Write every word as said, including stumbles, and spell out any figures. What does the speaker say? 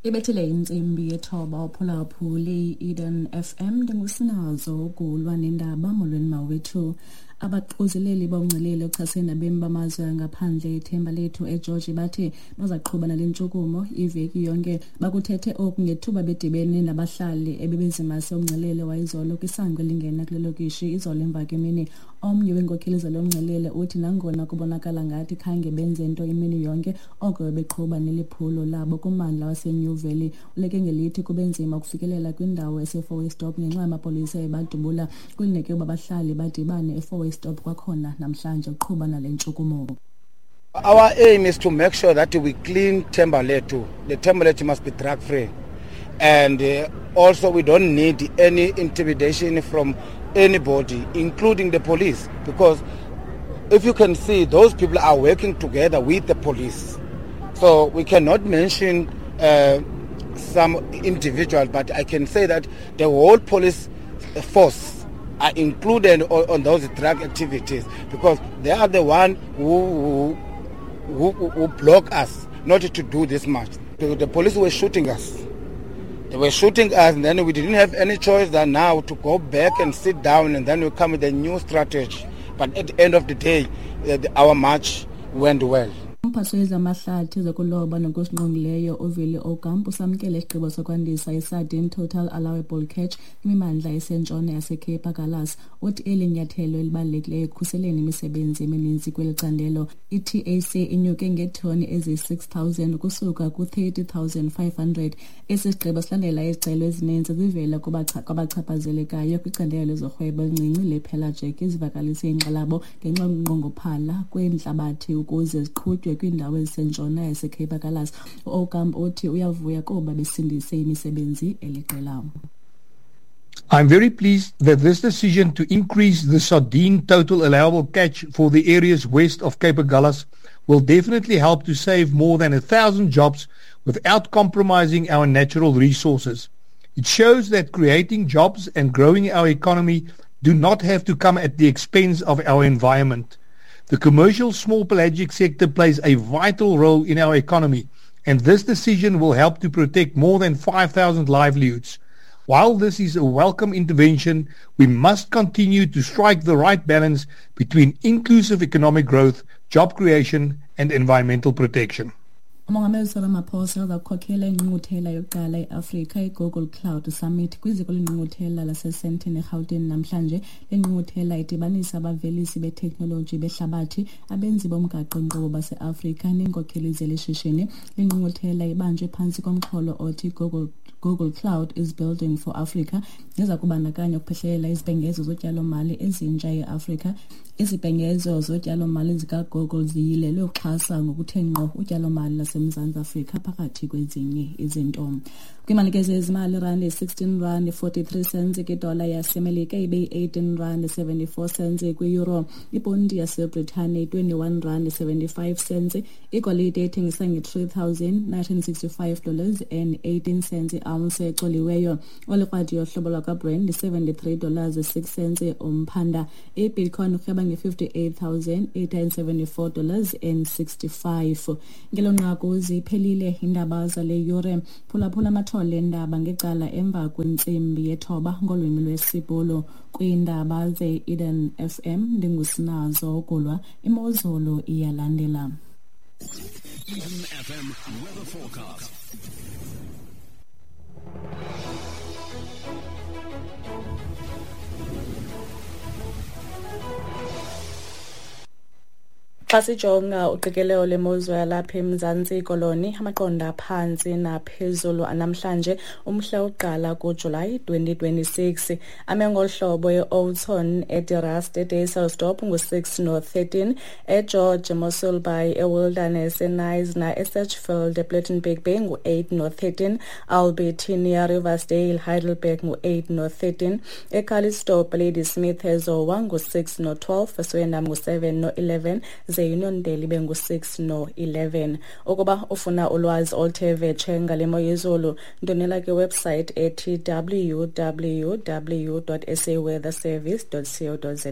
Ibethile intsimbi yethoba uphulaphuli Eden F M ndingusinazo ukulwa nendaba. Molweni mawethu. Abaququzeleli bomngcelele ochasene nabemi bamazwe angaphandle ithemba lethu eGeorge bathi bazaqhuba nale ntshukumo iveki yonke. Bakuthethe oku ngethuba bedibene nabahlali ebebezimase umngcelele wayizolo kwisango elingena kule lokishi izolo emva kwemini. Omnye weenkokheli zalo mngcelele uthi nangona kubonakala ngathi khange benze nto imini yonke, oko beqhuba neliphulo labo kummandla waseNew Valley. Uleke ngelithi kube nzima ukufikelela kwindawo eseFour-Way Stop ngenxa yamapolisa ebadubula. Kulindeleke ukuba abahlali badibane eFour-Way Stop kwakhona namhlanje uqhuba nale ntshukumo. Our aim is to make sure that we clean Thembalethu. The Thembalethu must be drug free. And uh, also we don't need any intimidation from anybody, including the police, because if you can see, those people are working together with the police. So we cannot mention uh, some individual, but I can say that the whole police force are included on, on those drug activities, because they are the one who, who, who, who block us not to do this much. The, the police were shooting us. They were shooting us, and then we didn't have any choice than now to go back and sit down, and then we come with a new strategy. But at the end of the day, uh, the, our march went well. Umphathiswa wezamahlathi zokuloba nokusingqongileyo uVili Aucamp usamkele isigqibo sokwandisa i-sardine total allowable catch kwimimandla esentshona yaseCape Agulhas. Uthi eli nyathelo elibalulekileyo ekukhuseleni imisebenzi emininzi kweli candelo. I-T A C inyuke ngeetoni eziyi-six thousand ukusuka ku-thirty thousand five hundred. Esi sigqibo silandela izicelo ezininzi zivela kwabachaphazelekayo kwicandelo lezorhwebo elincinci le-pelagic ezivakalise inkxalabo ngenxa yokunqongophala kweentlabathi ukuze ziqhutywe kwiindawo ezisentshona yaseCape Agulhas. U-Aucamp uthi uyavuya kuba besindise imisebenzi eliqela. I'm very pleased that this decision to increase the sardine total allowable catch for the areas west of Cape Agulhas will definitely help to save more than a thousand jobs without compromising our natural resources. It shows that creating jobs and growing our economy do not have to come at the expense of our environment. The commercial small pelagic sector plays a vital role in our economy, and this decision will help to protect more than five thousand livelihoods. While this is a welcome intervention, we must continue to strike the right balance between inclusive economic growth, job creation, and environmental protection. Umongameli Cyril Ramaphosa uza kukhokhela ingqungquthela yokuqala eAfrika iGoogle Cloud Summit kwiziko lengqungquthela laseSandton eGauteng namhlanje. Le ngqungquthela idibanisa abavelisi beteknoloji behlabathi, abenzi bomgaqo-nkqubo baseAfrika neenkokheli zelishishini. Le ngqungquthela ibanjwe phantsi komxholo othi Google Google Cloud is Building for Africa, neza kubandakanya ukuphehlelela izibhengezo zotyalo-mali ezintsha eAfrika. Izibhengezo zotyalo-mali zikaGoogle ziyilelwe ukuxhasa ngokuthe ngqo utyalo-mali laseMzantsi Afrika phakathi kwezinye izinto. Kwimalikezo yezimali, irandi sixteen rand forty-three cents kwidola yaseMelika, ibe yi-eighteen rand seventy-four cents kwi-euro. Iponti yaseBritane twenty-one rand seventy-five cents. Igolide ethengisa nge-three thousand nine hundred sixty-five dollars and eighteen cents i-ounce ecoliweyo. Olikrwadi yohlobo lwakwaBrand seventy-three dollars six cents umphanda. I-Bitcoin urhweba nge-fifty-eight thousand eight hundred seventy-four dollars and sixty-five. Ngelo nqaku ziphelile iindaba zale yure. Phulaphula amathole endaba ngecala emva kwentsimbi yethoba ngolwimi lwesiBhulu. Kwiindaba ze-Eden F M ndingusinazo ukulwa. Imozulu iyalandela. Eden F M weather forecast. Xa sijonga uqikelelo lemozulu yalapha eMzantsi Koloni, amaqondo aphantsi naphezulu anamhlanje umhla wokuqala kuJulayi twenty twenty-six. Ame ngolu hlobo e-Oudtshoorn, eDe-Rust, eDysselsdorp ngu-six no-thirteen, eGeorge, Mossel Bay, eWilderness, eKnysna, eSedgefield, ePlettenberg Bay ngu-eight no-thirteen, Albertinia, Riversdale, Heidelberg ngu-eight no-thirteen, eCalitzdorp, Ladysmith, eZowa ngu-six no-twelve, eSwellendam ngu-seven no-eleven, ze-Uniondale ibe ngu-six no-eleven. Ukuba ufuna ulwazi oluthe vetshe ngale mo yezulu, ndonela kwiwebsite ethi w w w dot s a weather service dot co dot za.